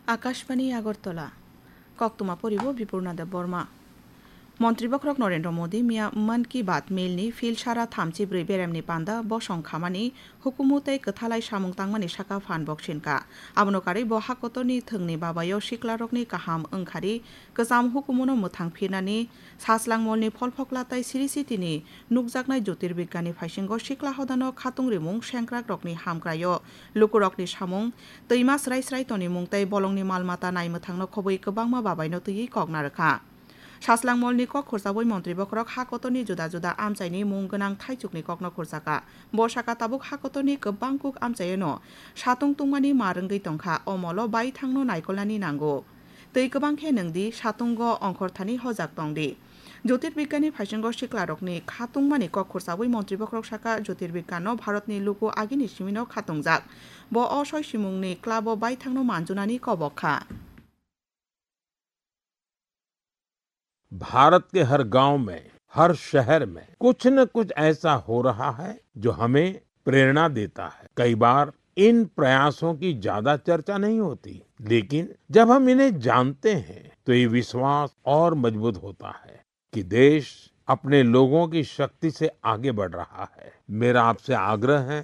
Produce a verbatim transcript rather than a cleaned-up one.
Akashbani Agartala. Koktwma poribo Bipurna Deb Borma. Montri Bokhorok Narendra Modi miya Mann Ki Baat Mail ni phil sara thamchi brwi beremni panda bosong khamani hukumu tei kwthalai samung tangmani saka phan boksinka. Abono karwi bo hakotorni thwngni babayo siklarokni kaham wngkhari kwcham hukumuno mwthang phirnani Saslang Molni pholphokla tei Sri City ni nukjaknai Jyotirbigyani phaisingo sikla hodano khatung rimung sengkrakrokni hamkraio lukurokni samung, twima srai srai tonimung tei bolongni mal mata naimwthangno khobwi kwbangma babaino twiwi kok narwkha. Saslang Molni kok khursawi Montri Bokhorok ha kotorni juda juda amchaini mung gwnang thaichukni kokno khursaka. Bo saka tabuk ha kotorni kwbang kuk amchaiyano satung tungmani mar wngwi tongkha, o molo baithangno naikolnani nango. Tei kwbang khe nwng di satungo ongkhorthani hojak tong di. Jyotirbigyani phaisingo siklarokni khatungmani kok khursawi Montri Bokhorok saka Jyotirbigyano Bharatni luku agini simino khatungjak. Bo o soi simungni club-o baithangno manjunani kobok kha. Bharat के हर गांव में, हर शहर में कुछ न कुछ ऐसा हो रहा है जो हमें प्रेरणा देता है। कई बार इन प्रयासों की ज्यादा चर्चा नहीं होती, लेकिन जब हम इन्हें जानते हैं तो ये विश्वास और मजबूत होता है कि देश अपने लोगों की शक्ति से आगे बढ़ रहा है। मेरा आपसे आग्रह है